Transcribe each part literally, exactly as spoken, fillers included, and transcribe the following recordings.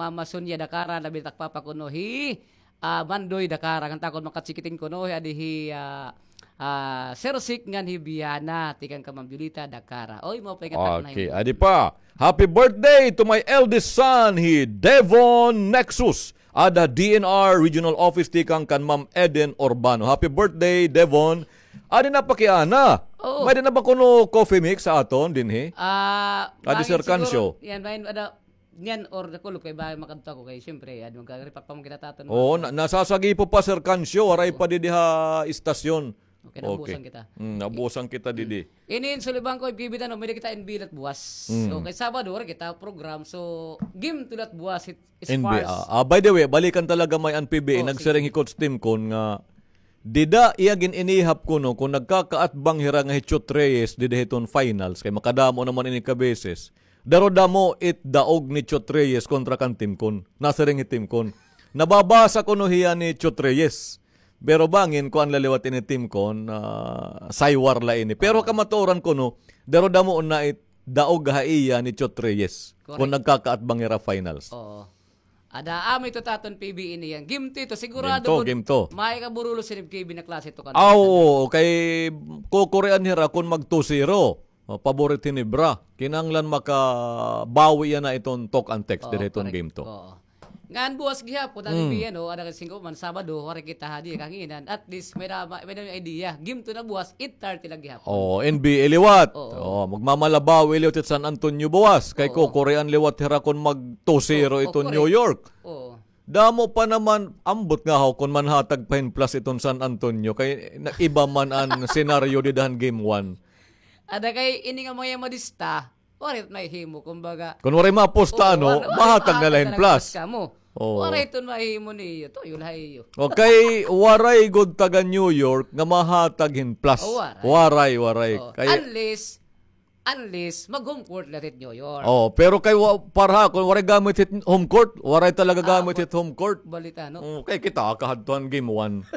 Mama Sonia Dakara, labi na it ak papa kuno hi, ah, Mandoy Dakara, ngan takon makachikiting kuno hi, adi hi, ah, ah, Sir Sik ngan hi Biana, tikang kan Ma'am Julita Dakara. Oy, maupay nga takna. Okay, adi pa. Happy birthday to my eldest son, hi Devon Nexus. Ada D N R Regional Office tikang kan Ma'am Eden Urbano. Happy birthday, Devon. Adi na pakiana. Oo. May-ada na ba kuno coffee mix ha aton dinhi? Ah, adi, Sir Cancio. Yan, may ada, yan, or nakulop kay ba makadto ako kay, siyempre, adi, magkaripak pa man kita ha aton. Oo, na-, nasasagipo pa, Sir Cancio, waray pa didi ha istasyon. Okay, nabusan kita. Mm, nabusan kita didi. Ini in Sulibangco, F K B, ano, may-ada kita N B A la it buwas. Mm. So, kay Sabado, waray kita program. So, game two la it buwas, it N B A. Spurs. Ah, ah, by the way, balikan talaga may an P B A. Oh, sige. Nagsiring hi Coach Tim Con nga, dida iya gin-inihap kuno, kon nagkakaatbang hira nga hi Chot Reyes, dida hiton finals, kay makadamo naman ini ka beses. Darodamo it daog ni Chot Reyes kontra kan Tim Con. Nasiring hi Tim Con. Nababasa kuno hiya ni Chot Reyes. Pero bangin, kuan la liwat ini, Tim Con, ah, saywar la ini. Pero kamatuoran kuno, darodamo na it daog ha iya ni Chot Reyes. Correct. Kon nagkakaatbang hira finals. Oo. Ada, amo ito ha aton P B A ini yan. Game two ito, sigurado. Game two, game two. May kaburulos ini F K B na klase ito kan. Ah, oo, kay kukurian hira kon mag two zero. Oh, paborit Ginebra. Kinahanglan makabawi yana iton talk and text dida hiton game two. Oo, correct. Oo. Ngan buwas gihapon, ano, P B A, no? Ada kay singko man, Sabado, waray kita hadi, kahanginan. At least, may-ada, may-ada idea. Game two na buwas, eight thirty la gihapon. Oo, N B A liwat. Oo. Oo, magmamalabawi liwat it San Antonio buwas. Kay kukurian liwat hira kon mag two zero iton New York. Oo, correct. Oo. Damo pa naman, ambot ngahaw kon manhatag pa hin plus iton San Antonio. Kay na-, iba man an senaryo dida han game one. Ada kay ini nga mga madista, waray it mahihimo, kumbaga. Kon waray mapusta, ano, mahatag na la hin plus. Oo. Waray iton mahihimo niyo, tuyo la ha iyo. Okay, waray gud taga New York nga mahatag hin plus. Oh, waray. Waray, waray. Oh, kay unless, unless mag-home court la hit New York. Oh, pero kay wa-, para ha akon, waray gamit hit home court. Waray talaga gamit hit home court. Balita, no? Oh, kay kita, kahadto han game one.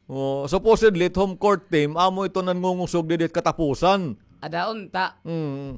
Oh, supposedly, it home court team, amo ito nangungusog didi hit katapusan. Ada unta. Mm.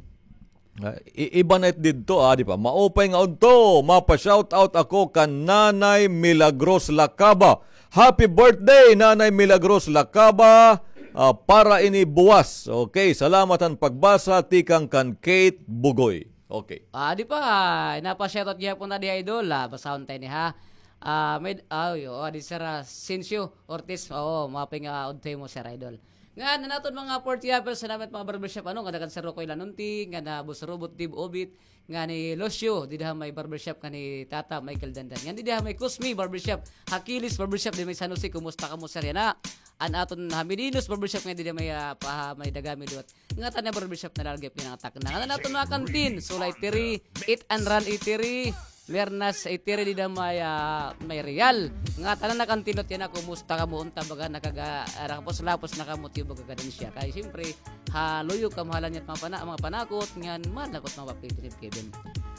Ah, i-, iba na it didto, ah, di ba? Maupay nga udto, mapa-shoutout ako kan Nanay Milagros Lacaba. Happy birthday, Nanay Milagros Lacaba. Ah, para ini buwas. Okay, salamat han pagbasa, tikang kan Kate Bugoy. Okay. Ah, di pa, napa-shoutout gihapon ta di, idol. Ah, basahon ta ini, ha. Ah, may, ah, yo, ah, di Sir, ah, Sincio Ortiz. Oo, maupay nga udto ha imo, Sir Idol. Ngan an aton mga forty apples, salamat mga barbershop, ano, nga kan Sir Rocoy Lanunti, ngan Boss Robot, Dib Obit, ngan ni Lucio, dida ha may barbershop, ngan ni Tata Michael Dandan. Ngan dida ha may Cosme Barbershop, Hakilis Barbershop, dida may San Jose, kumusta kamo, sir, yana? An aton ha Meninos Barbershop, ngan dida may, ah, pa, ha may Dagami liwat. Ngatanan nga barbershop na la gihap ini nga takna. Ngatanan naton mga kantin, Sula Eatery, Eat and Run Eatery, Lernas Eatery, dida may, ah, may Real. Ngatanan nga kantin liwat yana, kumusta kamo, unta baga nakaga-, ah, nakapos-lapos na kamo, tiyo baga kadansya. Kay siyempre, ha luyo kamahalan niya mga pana-, mga panakot, ngan mahal na ko it mga papel ni Kevin.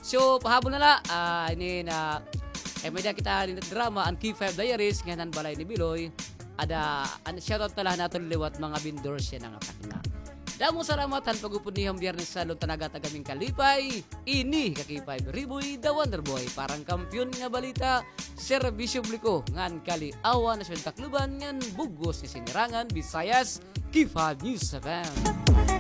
So, pahabol na la, ah, ini na, eh, may-ada kita ini drama, an K five Diaries, ngan an Balay ni Biloy. Ada, an shoutout na la han aton liwat mga vendors yana nga takna. Damo salamat han pag-upod niyo han Biyernes sa Lon Tanaga, taga Ming Kalipay. Ini ka K five Riboy, the Wonder Boy, para han kampiyon nga balita, serbisyo publiko, ngan kali-awan, Nasyon Tacloban, ngan bug-os nga sinirangan, Visayas, K five News F M.